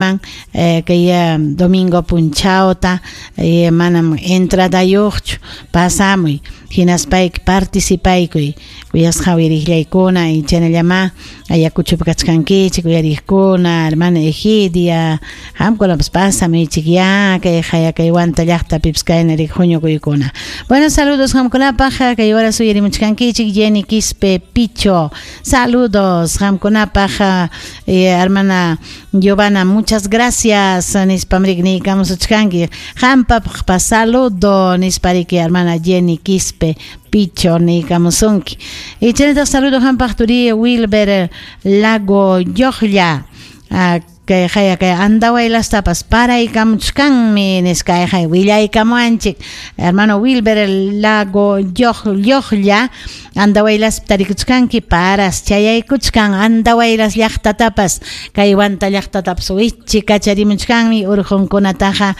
Man kay domingo punchawta manam entradayuqchu, pasamuy hinaspayki participaykuy kuyasqa uyariqllaykuna y chaynallamá Ayacuchopi kachkankichik uyariqkuna, hermana Egidia, qamkunapas pasamuychikyá kay haya kay Huanta llaqtapipas kayna rik huñukuykuna. Bueno, saludos qamkunapaq kay horas uyarimuchkankichik Jenny Quispe Picho. Saludos qamkunapaq hermana Giovanna, muchas gracias nispam riki niykamusuchkanki. Qampapaqpas saludo nispa riki hermana Jenny Quispe Picho niykamusunki. Y chaynataq saludo qampaq turi Wilber Lago Lloqlla. Kay haya kay Andahuaylastapas paraykamuchkanmi nisqa kay willaykamuwanchik. Hermano Wilber Lago Lloqlla Andahuaylaspi tarikuchkanki paras chayaykuchkan Andahuaylas llaqtatapas kay Huanta llaqtatapas wichi kacharimuchkanmi urqunkunataqa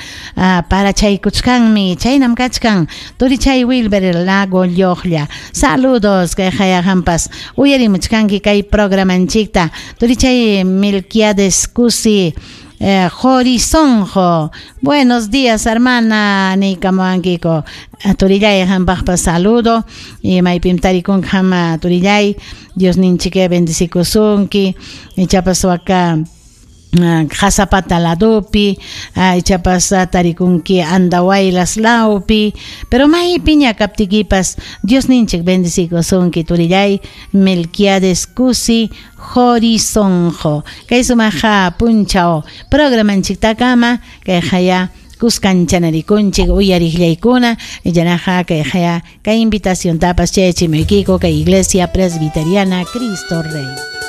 parachaykuchkanmi chaynam kachkan turichay Wilber Lago Lloqlla. Saludos kay haya qampas uyarimuchkanki kay programanchikta turichay Melquiades Cusi Jorizonjo. Buenos días, hermana niykamuwankiko. Turillay qampaqpas saludo y maypim tarikunki qam turillay Diosninchik bendecikusunki ichapas waka Qasapata ladopi ichapas tarikunki Andahuaylas lawpi pero maypiña kaptikipas Diosninchik bendecikusunki turillay Melquiades Cusi Jorizonjo. Kay sumaqa punchaw programanchiktakama kay haya kuskanchanarikunchik uyariqllaykuna yanaqa kay haya kay invitaciontapas chayachimuykiku kay Iglesia Presbiteriana Cristo Rey.